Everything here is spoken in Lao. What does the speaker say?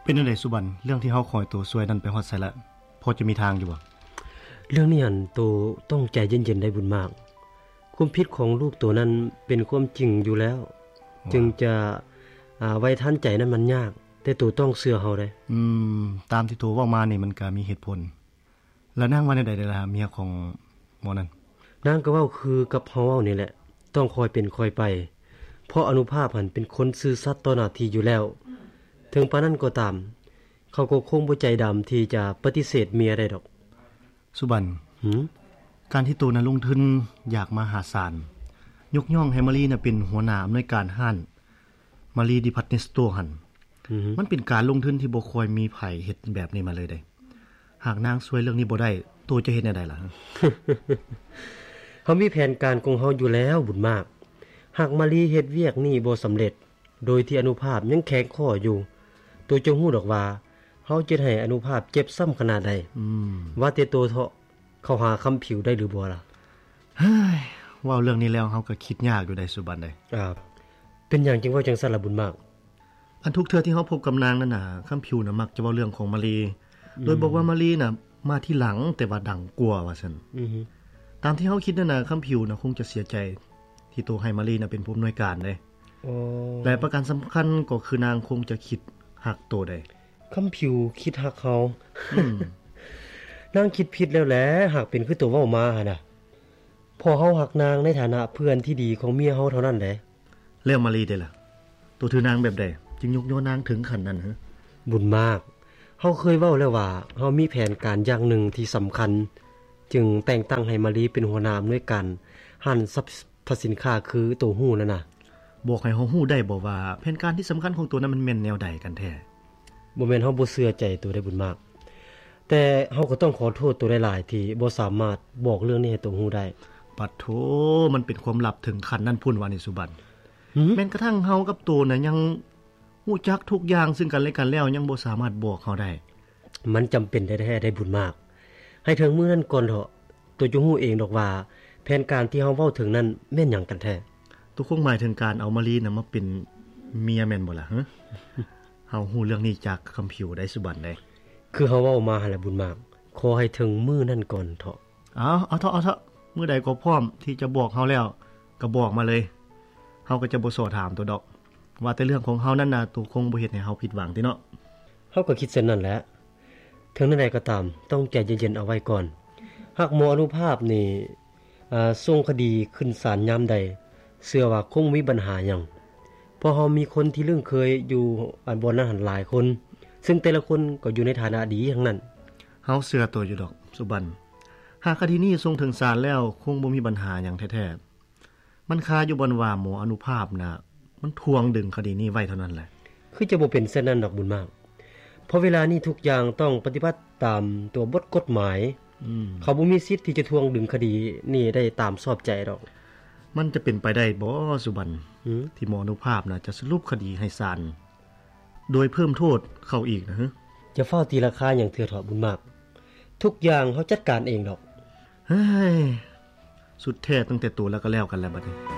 ເປັນຈັ່ງໃດສຸບັນ? ເລື່ອງທີ່ເຮົາຂໍໃຫ້ໂຕຊ່ວຍນັ້ນໄປຮອດໃສລະ? ພໍຈະມີທາງຢູ່ບໍ່? ເລື່ອງນີ້ຫັ້ນ ໂຕຕ້ອງໃຈເຢັນໆ ໄດ໋ບຸນມາກ. ຄວາມຜິດຂອງລູກໂຕນັ້ນເປັນຄວາມຈິງຢູ່ແລ້ວ, ວ່າ ຈຶ່ງຈະ ອາ ໄວ້ທັນໃຈນັ້ນມັນຍາກ, ແຕ່ໂຕຕ້ອງເຊື່ອເຮົາໄດ໋. ອືມ, ຕາມທີ່ໂຕເວົ້າມານີ້ມັນກະມີເຫດຜົນ. ແລ້ວນາງວ່າແນວໃດລະ ເມຍຂອງໝໍນັ້ນ? ນາງກໍເວົ້າຄືກັບເຮົາເວົ້ານີ້ແຫຼະ, ຕ້ອງຄ່ອຍເປັນຄ່ອຍໄປ, ເພາະອະນຸພາບຫັ້ນເປັນຄົນຊື່ສັດຕໍ່ໜ້າທີ່ຢູ່ແລ້ວ. ເຖິງປານນັ້ນກໍຕາມ, ເຂົາກໍຄົງບໍ່ໃຈດຳທີ່ຈະປະຕິເສດເມຍໄດ້ດອກ. ສຸບັນ, ຫື? ການທີ່ໂຕນະລົງທຶນຢາກມະຫາສານ, ຍົກຍ້ອງໃຫ້ມາລີນະເປັນຫົວໜ້າອຳນວຍການຮ້ານ ມາລີດີພາດເມັນສະໂຕຫັ້ນ, ອືຮຶ ມັນເປັນການລົງທຶນທີ່ບໍ່ຄ່ອຍມີໃຜເຮັດແບບນີ້ມາເລີຍເດ້. ຫາກນາງຊ່ວຍເລື່ອງນີ້ບໍ່ໄດ້, ໂຕຈະເຮັດແນວໃດລະ? ເຮົາມີແຜນການຂອງເຮົາຢູ່ແລ້ວ ບຸນມາກ. ຫາກມາລີເຮັດວຽກນີ້ບໍ່ສຳເລັດ, ໂດຍທີ່ອະນຸພາບຍັງແຂງຂໍ້ຢູ່, ໂຕຈະຮູ້ດອກວ່າ ເຮົາຈະເຮັດໃຫ້ອະນຸພາບເຈັບຊ້ຳຂະໜາດໃດ. ອືມ. ວ່າແຕ່ໂຕເທາະ ເຂົ້າຫາຄຳຜິວໄດ້ຫຼືບໍ່ລະ? ເຮີ້ຍ, ເວົ້າເລື່ອງນີ້ແລ້ວເຮົາກໍຄິດຍາກຢູ່ໄດ໋ສຸບັນເດ. ອ່າ, ເປັນຫຍັງຈຶ່ງເວົ້າຈັ່ງຊັ້ນລະບຸນມາກ? ອັນທຸກເທື່ອທີ່ເຮົາພົບກັບນາງນັ້ນນະ, ຄຳຜິວນະມັກຈະເວົ້າເລື່ອງຂອງມາລີ, ອືມ ໂດຍບອກວ່າມາລີນະມາທີຫຼັງ ແຕ່ວ່າດັງກວ່າວ່າຊັ້ນ. ອືຮຶ ຕາມທີ່ເຮົາຄິດນັ້ນນະ, ຄຳຜິວນະຄົງຈະເສຍໃຈທີ່ໂຕໃຫ້ມາລີນະເປັນຜູ້ອຳນວຍການເດ້. ອໍ ແລະປະການສຳຄັນກໍຄືນາງຄົງຈະຄິດຮັກໂຕໄດ໋. ຄຳຜິວຄິດຮັກເຮົາ? ອືມ. ນາງຄິດຜິດແລ້ວແຫຼະ, ຫາກເປັນຄືໂຕເວົ້າມາຫັ້ນນະ, ເພາະເຮົາຮັກນາງໃນຖານະເພື່ອນທີ່ດີຂອງເມຍເຮົາເທົ່ານັ້ນແຫຼະ. ແລ້ວມາລີເດລະ? ໂຕຖືນາງແບບໃດ ຈຶ່ງຍົກຍໍນາງເຖິງຂັ້ນນັ້ນ? ບຸນມາກ, ເຮົາເຄີຍເວົ້າແລ້ວວ່າ ເຮົາມີແຜນການຢ່າງໜຶ່ງທີ່ສຳຄັນ, ຈຶ່ງແຕ່ງຕັ້ງໃຫ້ມາລີເປັນຫົວໜ້າອຳນວຍການຮ້ານຊັບ ພະສິນຄ້າຄືໂຕຮູ້ນັ້ນນະ. ບອກໃຫ້ເຮົາຮູ້ໄດ້ບໍ່ວ່າ ແຜນການທີ່ສຳຄັນຂອງໂຕນັ້ນມັນແມ່ນແນວໃດກັນແທ້? ບໍ່ແມ່ນເຮົາບໍ່ເຊື່ອໃຈໂຕໄດ໋ບຸນມາກ, ແຕ່ເຮົາກໍຕ້ອງຂໍໂທດໂຕຫຼາຍໆ ທີ່ບໍ່ສາມາດບອກເລື່ອງນີ້ໃຫ້ໂຕຮູ້ໄດ້. ປະໂທ, ມັນເປັນຄວາມລັບເຖິງຂັ້ນນັ້ນພຸ້ນຫວານີ້ສຸບັນ? ຫື? ແມ່ນກະທັ່ງເຮົາກັບໂຕນະຍັງຮູ້ຈັກທຸກຢ່າງເຊິ່ງກັນແລະກັນແລ້ວ ຍັງບໍ່ສາມາດບອກເຮົາໄດ້. ມັນຈຳເປັນແທ້ໆ ໄດ໋ບຸນມາກ. ໃຫ້ເຖິງມື້ນັ້ນກ່ອນເຖາະ, ໂຕຈະຮູ້ເອງດອກວ່າ ແຜນການທີ່ເຮົາເວົ້າເຖິງນັ້ນແມ່ນຫຍັງກັນແທ້. ໂຕຄົງໝາຍເຖິງການເອົາມາລີນະມາເປັນເມຍແມ່ນບໍ່ລະ? ເຮົາຮູ້ເລື່ອງນີ້ຈາກຄຳຜິວໄດ໋ສຸບັນເດ້. ຄືເຮົາເວົ້າມາຫັ້ນແຫຼະບຸນມາກ, ຂໍໃຫ້ເຖິງມື້ນັ້ນກ່ອນເຖາະ. ເອົາ, ເອົາເຖາະ, ເອົາເຖາະ. ມື້ໃດກໍພ້ອມທີ່ຈະບອກເຮົາແລ້ວ, ກໍບອກມາເລີຍ. ເຮົາກໍຈະບໍ່ສໍ້ຖາມໂຕດອກ. ວ່າແຕ່ເລື່ອງຂອງເຮົານັ້ນນະ, ໂຕຄົງບໍ່ເຮັດໃຫ້ເຮົາຜິດຫວັງຕິເນາະ? ເຮົາກໍຄິດເຊັ່ນນັ້ນແຫຼະ. ເຖິງແນວໃດກໍຕາມ, ຕ້ອງໃຈເຢັນໆ ເອົາໄວ້ກ່ອນ. ຫາກໝໍອະນຸພາບນີ້, ອ່າ, ສົ່ງຄະດີຂຶ້ນສານຍາມໃດ, ເຊື່ອວ່າຄົງບໍ່ມີບັນຫາຫຍັງ. ເພາະເຮົາມີຄົນທີ່ລຶ້ງເຄີຍຢູ່, ອັນ, ບ່ອນນັ້ນຫັ້ນຫຼາຍຄົນ, ເຊິ່ງແຕ່ລະຄົນກໍຢູ່ໃນຖານະດີທັງນັ້ນ. ເຮົາເຊື່ອໂຕຢູ່ດອກ, ສຸບັນ. ຫາກຄະດີນີ້ສົ່ງເຖິງສານແລ້ວ, ຄົງບໍ່ມີບັນຫາຫຍັງແທ້ໆ. ມັນຄາຢູ່ບ່ອນວ່າໝໍອະນຸພາບນະ ມັນຖ່ວງດຶງຄະດີນີ້ໄວ້ເທົ່ານັ້ນແຫຼະ. ຄືຈະບໍ່ເປັນເຊັ່ນນັ້ນດອກບຸນມາກ, ເພາະເວລານີ້ທຸກຢ່າງຕ້ອງປະຕິບັດຕາມຕົວບົດກົດໝາຍ. ອືມ. ເຂົາບໍ່ມີສິດທີ່ຈະຖ່ວງດຶງຄະດີນີ້ໄດ້ຕາມຊອບໃຈດອກ. ມັນຈະເປັນໄປໄດ້ບໍ່, ສຸບັນ? ຫື? ທີ່ໝໍອະນຸພາບນະ ຈະສະຫຼຸບຄະດີໃຫ້ສານ ໂດຍເພີ່ມໂທດເຂົາອີກນະ. ຢ່າຟ້າວຕີລາຄາຫຍັງເທື່ອເຖາະບຸນມາກ, ທຸກຢ່າງເຮົາຈັດການເອງດອກ. ເຮີ້ຍ, ສຸດແທ້ຕັ້ງແຕ່ໂຕແລ້ວກໍແລ້ວກັນແລ້ວບັດນີ້.